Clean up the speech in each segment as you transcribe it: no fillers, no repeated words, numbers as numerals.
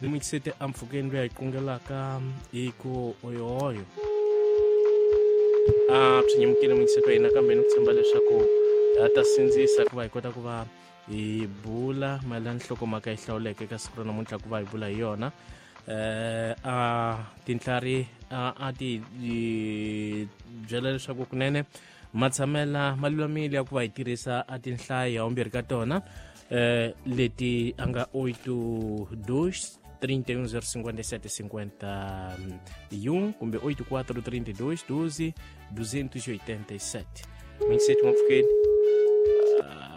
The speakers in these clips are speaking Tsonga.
Ni muyingiseti empfhukeni loyi a hi kungelaka hi ku oyoyo a swi nyimukile muyingiseti wa hina, kambe ni ku tshemba leswaku a ta sindzisa ku va hi kota ku va hi bula mayelana nhlokomhaka yi hlawuleke eka siku ra namuntlha ku va hi bula hi yona. A tintlhari a ti byela leswaku kunene matshamela ma lulamile ya ku va hi tirhisa a tinhlayo ya vumbirhi ka tona, leti a nga 82 31 057 51 kumbe 84 32 12 287. Mingiseti n'wampfukeni,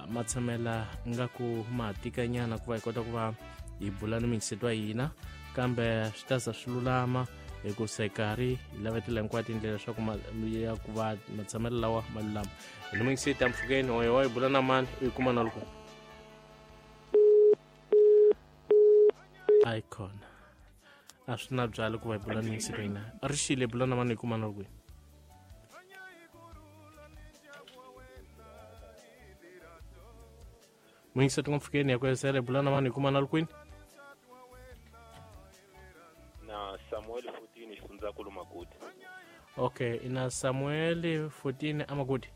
matshamela nga ku ma tikanyana ku va hi kota ku va hi bula ni mingiseti wa hina, kambe swi ta za swi lulama hikusa hi karhi hi lavetela hinkwato tindlela leswaku ya ku va matshamelo lawa ma lulama. Hi ni mingiseti ampfukeni, oyo wa hi bula na mani, u yi kuma na loko a yi khona a swi na byalo ku va hi bula ni mingiseti wa hina. Ri xile, bula na mani, hi kuma na loko. Muyingiseti n'wampfukeni ya ku esele, bula na vanhu, hi kuma na kwini? Na Samuel 14 xifundzankulu Maguti. Okay, ina Samuel 14 Amagudi.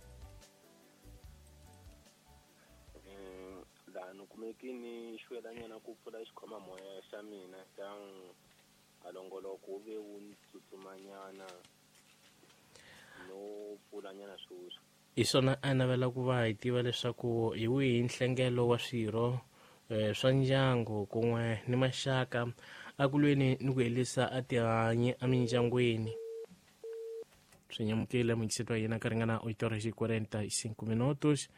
Laha ni kumeki ni xwelanyana ku pfula xikhoma-moya xa mina xa alongoloko wu ve wu ni tsutsumanyana no pfulanyana sweswi. Hi swona a navela ku va hi tiva leswaku hi wihi nhlengelo wa swirho swa ndyangu kun'we ni maxaka a ku lweni ni ku herisa a tihanyi emindyangwini. Swi nyamukile muyingiseti wa hina ka ringana 8 horas e 45 minutos.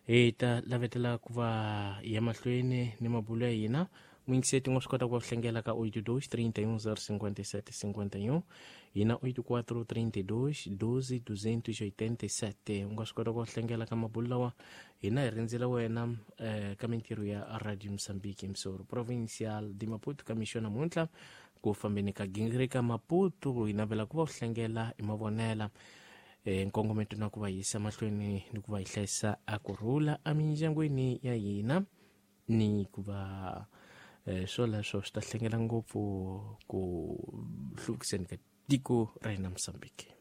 Hi ta lavetela ku va hi ya mahlweni ni mabulo ya hina. Muyingiseti u nga swi kota ku va hlengela ka 82 31 057 51 hina 84 32 12 287. U nga swi kota ku va hlengela ka mabulo lawa hina hi rindzela wena ka mintirho ya Radio Mozambique Msoro Provincial de Maputo ka mixo namuntlha ku fambeni ka gingirika Maputo. Hi navela ku va u hlengela hi mavonela, nkongometo na ku va yisa mahlweni ni ku va hi hlayisa a kurhula emindyangwini ya hina, ni ku va swoleswo swi ta hlengela ngopfu ku hluvukiseni ka tiko ra hina Mozambique.